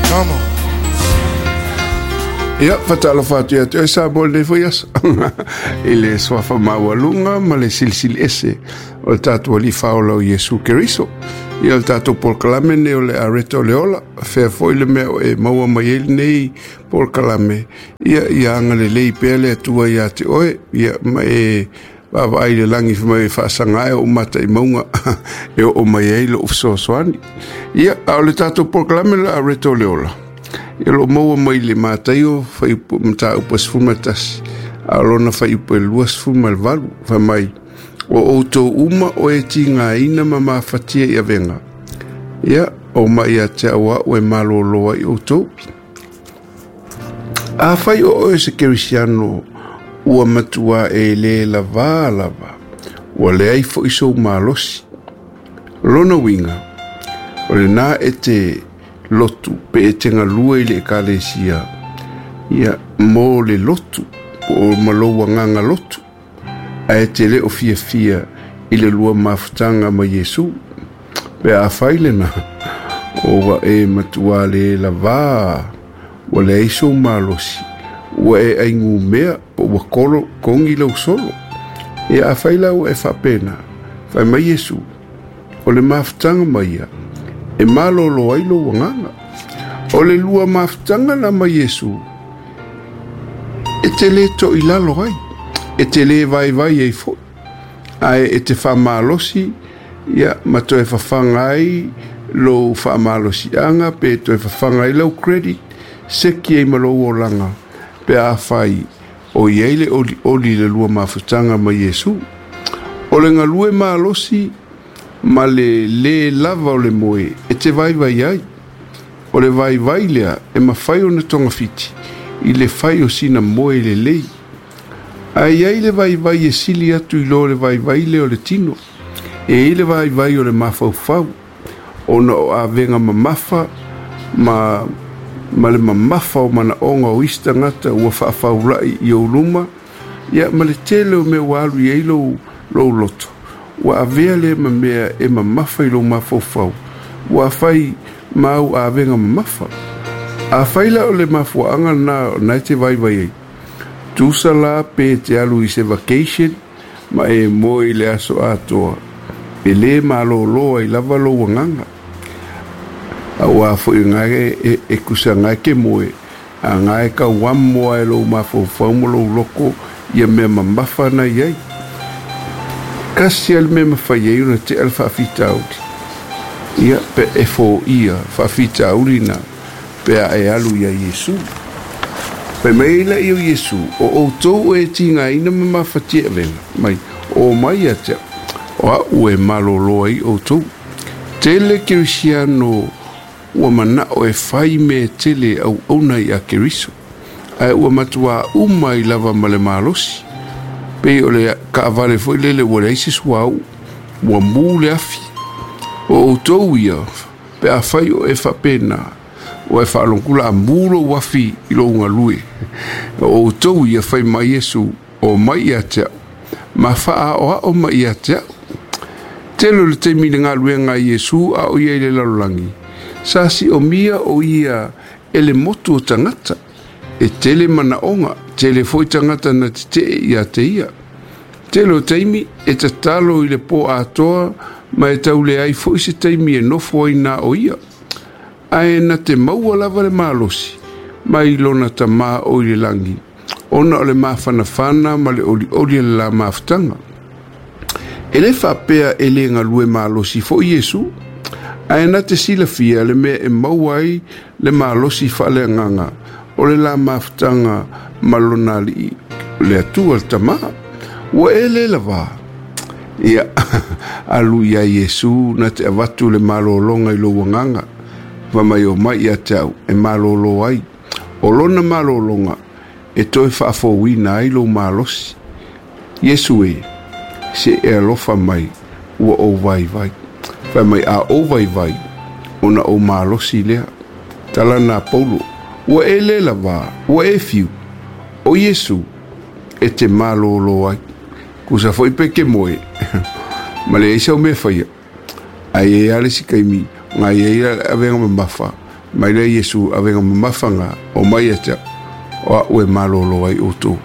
Come on. Ia, faatalofa atu ia te oe Samoa i lenei foi aso i le suafa maualuga ma le silisili ese o le tatou Alii Faaola o Iesu Keriso. Ia, o le tatou polokalame lenei o le Areto o le Ola, fea foi le mea o e maua mai ai lenei polokalame, ia, ia agalelei pea le Atua ia te oe, ia, ma e vaavaai i le lagi fai mai e faasaga ae ou mata i mauga e oo mai ai lou fesoasoani. Ia, a o le tatou polokalame o le Areto o le Ola, ia, o lo o maua mai le Mataio fuaiupu mataupu 11, a o lona fuaiupu e 28, fai mai, o outou uma o e tigaina ma mafatia i avega, ia, o mai ia te au au e malōlō ai outou. Afai o oe se kerisiano ua matua e lē lavā lava, ua leai fo'i sou malosi. Lona uiga, o lenā e te lotu pe e te galue i le ekalesia, ia, mo le lotu, po o ma lou agaga lotu, ae e te le o fiafia i le lua mafutaga ma Iesu. Pe afai lenā, ua e matuā lē lavā, ua leai sou malosi, ua e aigumea po ua kolo kogi lou solo. Ia, afai la ua e faapena, fai mai Iesu, o le mafutaga ma ia e malōlō ai lou agaga. O le lua mafutaga la ma Iesu, e te lē toʻilalo ai, e te lē vaivai ai foʻi, ae e te faamalosi, ia, ma toe fafaga ai lou faamalosiʻaga pe toe fafaga ai lau credit, seki ai ma lou olaga pe afai o i ai le olioli i le lua mafutaga ma Iesu. O le galue malosi ma le lē lava o le moe e te vaivai ai. O le vaivai lea e mafai ona togafiti i le fai o sina moe lelei. Ae i ai le vaivai e sili atu i lo le vaivai lea o le tino. E i ai le vaivai o le mafaufau, ona o avega mamafa ma ma le mamafa o manaʻoga o isi tagata ua faafaulaʻi i ou luma, ia, ma le tele o mea ua alu i ai lou, lou loto, ua avea lea ma mea e mamafa i lou mafaufau, ua fai ma au avega mamafa. Afai la o le mafuaaga lenā o na e te vaivai ai, tusa la pe te alu i se vacation ma e moe i le aso atoa, e lē malōlō ai lava lou agaga. Auā foʻi gā e, e kusa gā e ke moe, a gā e kauamo a e lou mafaufau ma lou loko ia mea mamafa na i ai. Kasi a le mea e mafai ai ona teʻa le faafitauli, ia, pe e foia faafitauli na pe a e alu iā Iesu. Fai mai ai laia o Iesu, O outou e tigaina ma mafatia e avega mai, o mai ia te au, o aʻu e malōlō ai outou. Tele Kerisiano ua manaʻo e fai mea tele e auauna iā Keriso, ae ua matuā uma ai lava ma le malosi. Pei o le kaʻawale foi lele ua leai se suauu, ua mū le afi. O outou ia, pe afai o e faapena, ua e faalogokula a mū lou afi i lou galue. O outou ia, fai mai Iesu, o mai ia te au, ma faaaoao mai ia te au. Tele o le taimi i le galuega a Iesu a o ia i le lalolagi, sa siomia o ia e le motu o tagata, e tele manaʻoga, tele foi tagata na tetee ia te ia. Tele o taimi e tatalo i le pō atoa ma e tau leai foi se taimi e nofo ai na o ia. Ae na te maua lava le malosi mai lona Tamā o i le lagi, ona o le mafanafana ma le olioli o le la mafutaga. E lē faapea e lē galue malosi foʻi Iesu, ae na te silafia le mea e maua ai le malosi faaleagaga o le la mafutaga ma lona Alii le Atua le Tamā. Ua e lē lavā, ia, alu iā Iesu na te avatu le malōloga i lou agaga, fai mai o mai ia te au e malōlō ai. O lona malōloga e toe faafouina ai lou malosi. Iesu e, se e alofa mai, ua ou vaivai. Fai mai a ou vaivai, ona ou malosi lea. Tala na Paulo, ua e lē lavā, ua e fiu, o Iesu e te malōlō ai. Kusa foʻi pe ke moe, ma leai sau mea e faia. Ae i ai lava le isi taimi, na i ai le avega mamafa, Mai lea Iesu avega mamafa gā o mai ia te a'u, o a'u e malōlō ai outou.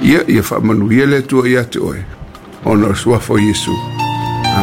Ia, ia faamanuia le Atua iā te oe, ona o le suafa o Iesu.